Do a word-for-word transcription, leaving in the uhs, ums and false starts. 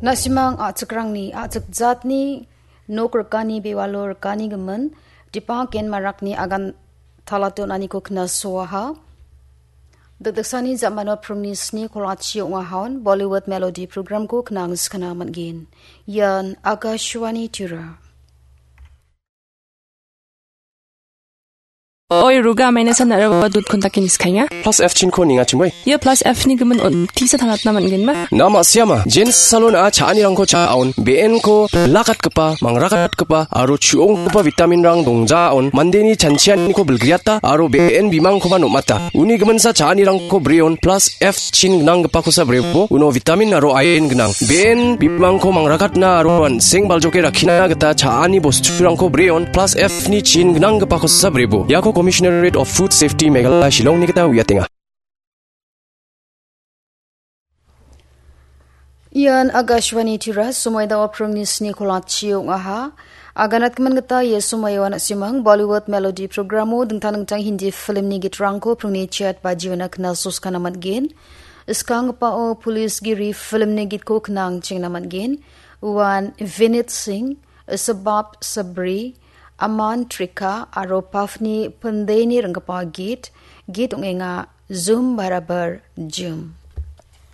Na·simang a·chikrangni a·chik jatni nok rikani bewalo rikani gimin Dipak Ken Marakni agan talatonaniko knasoaha. Dikdiksani jamano pringni sni kolachi ong·ahaon Bollywood Melody programko knangskana man·gen. Ian Akashvani Tura. Oi, Ruga, maina san araba dut kontakin skainga. Plus F chinko ninga chingoi. Ia plus F ni gimin on tisa talatna man·gen ma? Na ma siama. Jens salon a cha·anirangko cha·aon. B N ko lakatgipa, mangrakatgipa, aro chu·onggipa vitamin rang dongjaon. Mandeni chanchianiko bilgriata, aro B N bimangkoba nomata. Uni giminsa cha·anirangko breon, plus F chin gnanggipakosa brebo, uno vitamin aro iron gnang. B N bimangko mangrakatna aro an·seng baljoke rakkina gita cha·ani bosturangko breon, plus F ni chin gnanggipakosa brebo. Iako Commissionerate of Food Safety Meghalaya Shillongni gita uiatenga. Ian Akashvani Tura, somoi dao pringni sni kolachi ong·aha. Aganatgimin gita ia somoio na·simang Bollywood Melody programo dingtang dingtang Hindi filmni gitrangko pringni chet bajiona knasoskana man·gen. Skanggipao Police Giri filmni gitko knang chengna man·gen. Uan Vinit Singh, Sabab Sabri, Aman Trika aro Pafni Pindeni ringgipa git, git ong·enga Zoom Barabar Zoom.